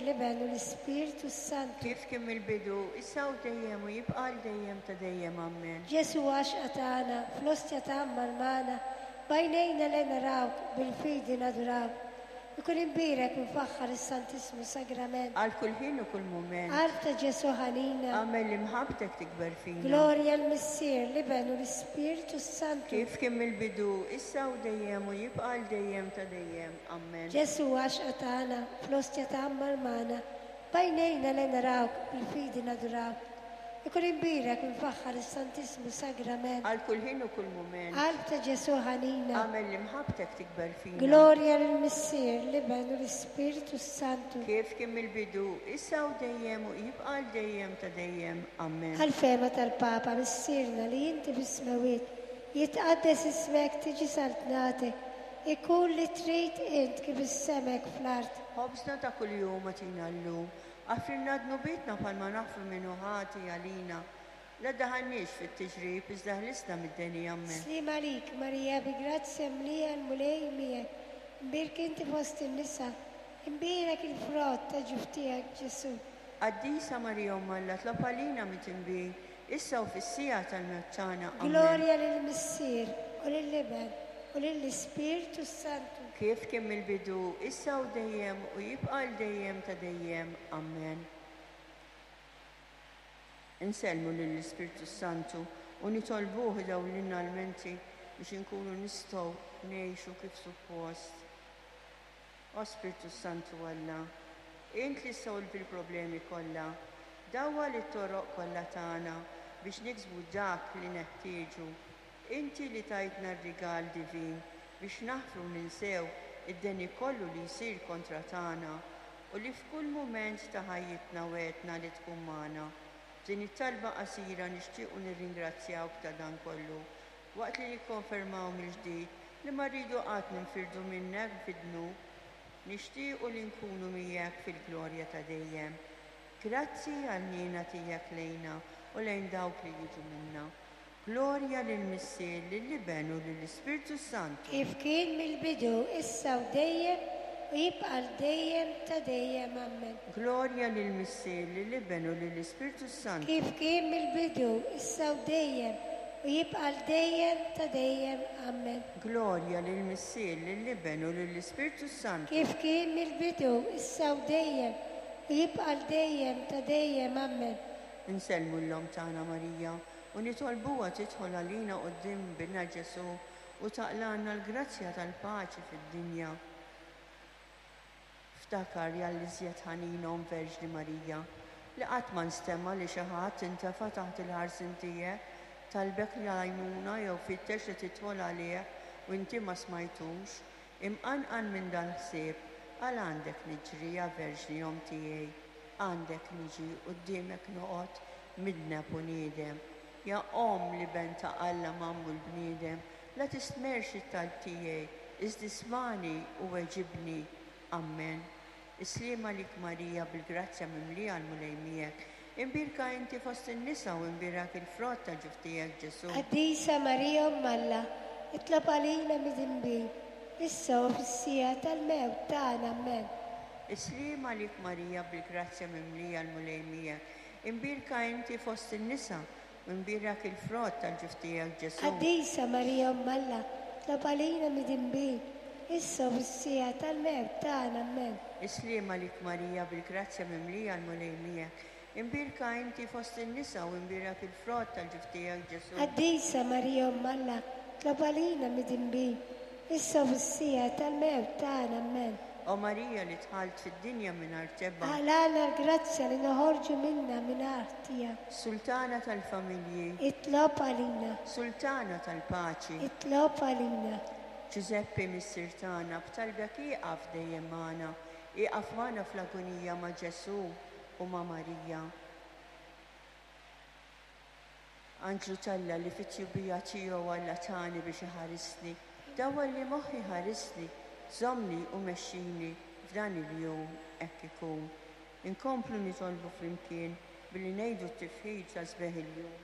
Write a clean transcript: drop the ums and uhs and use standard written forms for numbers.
l-Iben u l-Ispirtu s-Santu. Kif kien mill-bidu, issa u dejjem u jibqa' għal dejjem ta' dejjem. Ammen. Ġesù għaxqa tagħna, fl-ostja tgħammar magħna, b'għajnejna le narawk, bil-fidi nadurawk. Ikun imbierek u mfaħħar is-Santissmu Sagrament. Għal kull ħin u kull mument. Qalb ta' Ġesù ħanina. Agħmel li mħabbtek tikber fina. Glorja l-Missier, l-Iben u l-Ispirtu s-Santu. Kif kien mill-bidu, issa u dejjem u jibqa' għal dejjem ta' dejjem. Ammen. Ġesù għaxqa tagħna, fl-ostja tgħammar magħna, b'għajnejna le narawk, bil-fidi nadurawk. Ikun imbierek u mfaħħar is-Santissmu Sagrament. Għal kull ħin u kull mument. Qalb ta' Ġesù ħanina. Agħmel li mħabbtek tikber fina. Glorja lill-Missier, l-Iben u l-Ispirtu s-Santu. Kif kien mill-bidu, issa u dejjem u jibqa' għal dejjem ta' dejjem. Ammen. Għall-fehma tal-Papa Missierna li inti fis-smewwiet, jitqaddes ismek, tiġi saltnatek, ikun li trid int kif is-sema hekk fl-art. Ħobżna ta' kuljum agħtina llum, Aħfrilna dnubietna bħalma naħfru min hu ħati għalina. La ddaħħalniex fit-tiġrib, iżda ħlisna mid-deni. Ammen. Sliem għalik, Marija, bi grazzja mlija l-Mulej miegħek, imbierk inti fost in-nisa, imbierek il-frott ta' ġuf tiegħek, Ġesù. Qaddisa Marija Omm Alla tlob għalina midinbin, issa u fis-siegħa tal-mewt tagħna. Ammen. Glorja lill-Missier, u lill-Iben, u lill-Ispirtu s-Santu. Kif kien mill-bidu, issa u dejjem, u jibqa' għal dejjem ta' dejjem. Ammen. Insellmu lill-Ispirtu s-Santu u nitolbuh idawlilna l-menti biex inkunu nistgħu ngħixu kif suppost. O Spirtu s-Santu Alla, int li ssolvi l-problemi kollha, dawwal it-toroq kollha tagħna biex niksbu dak li neħtieġu. Inti li tajtna r-rigal divin biex naħfru u ninsew id-deni kollu li jsir kontra tagħna u li f'kull mument ta' ħajjitna wegħdtna li tkun magħna. B'din it-talba qasira nixtiequ nirringrazzjawk ta' dan kollu, waqt li nikkonfermaw mill-ġdid li ma rridu qatt ninfirdu minnek fid-dnub. Nixtiequ li nkunu miegħek fil-glorja ta' dejjem. Grazzi għall-ħniena tiegħek lejna u lejn dawk li jiġu minna. Glorja lill-Missier, lill-Iben u lill-Ispirtu s-Santu. Kif kien mill-bidu, issa u dejjem, u jibqa' għal dejjem ta' dejjem. Ammen. Glorja lill-Missier, lill-Iben u lill-Ispirtu s-Santu. Kif kien mill-bidu, issa u dejjem, u jibqa' għal dejjem ta' dejjem. Ammen. Glorja lill-Missier, lill-Iben u lill-Ispirtu s-Santu. Kif kien mill-bidu, issa u dejjem, u jibqa' għal dejjem ta' dejjem. Ammen. Insellmu 'l Omm tagħna Marija u nitolbuha tidħol għalina quddiem Binha Ġesù u taqlgħalna l-grazzja tal-paċi fid-dinja. Ftakar, ja l-iżjed ħanina Omm Verġni Marija, li qatt ma nstema' li xi ħadd intefa' taħt il-ħarsien tiegħek, talbek l-għajnuna jew fittex li tidħol għalih u inti ma smajtux. Imqanqal minn dal-ħsieb, għal għandek niġri, ja Verġni Omm tiegħi, għandek niġi, quddiemek noqgħod, midneb u niedem. Ja Omm l-Iben ta' Alla magħmul bniedem, la tistmerrx it-talb tiegħi, iżda ismagħni u weġibni. Ammen. Is-sliem għalik Marija bil-grazzja mimlija l-Mulej miegħek. Imbierka inti fost in-nisa u imbierak il-frott ta' ġuf tiegħek Ġesù. Qaddisa Marija Omm Alla, itlob għalina midinbin, issa u fis-siegħa tal-mewt tagħna. Ammen. Is-sliem għalik Marija bil-grazzja mimlija l-Mulej miegħek. Imbierka inti fost in-nisa, u imbierak il-frott tal-ġuf tiegħek Ġesù. Qaddisa Marija Omm Alla, itlob għalina midinbin, issa u fis-siegħa tal-mewt tagħna. Ammen. Is-sliem għalik Marija bil-grazzja mimlija l-Mulej miegħek. Imbierka inti fost in-nisa u imbierak il-frott tal-ġuf tiegħek Ġesù. Qaddisa Marija Omm Alla, itlob għalina midinbin, issa u fis-siegħa tal-mewt tagħna. Ammen. O Marija li dħalt fid-dinja mingħajr tebgħa. Aqlagħna l-grazzja li noħorġu minnha mingħajr ħtija. Sultana tal-familji. Itlob għalina. Sultana tal-paċi. Itlob għalina. Ġużeppi Missier tagħna, b'talbek ieqaf dejjem magħna, ieqaf magħna fl-agunija ma' Ġesù u ma' Marija. Anġlu t'Alla li fit-tjubija tiegħu Alla tani biex iħarisni, dawwalli moħħi ħarisni, żommni u mexxini f'dan il-jum hekk ikun. Inkomplu nitolbu flimkien billi ngħidu t-tifħir ta' sbieħ il-jum.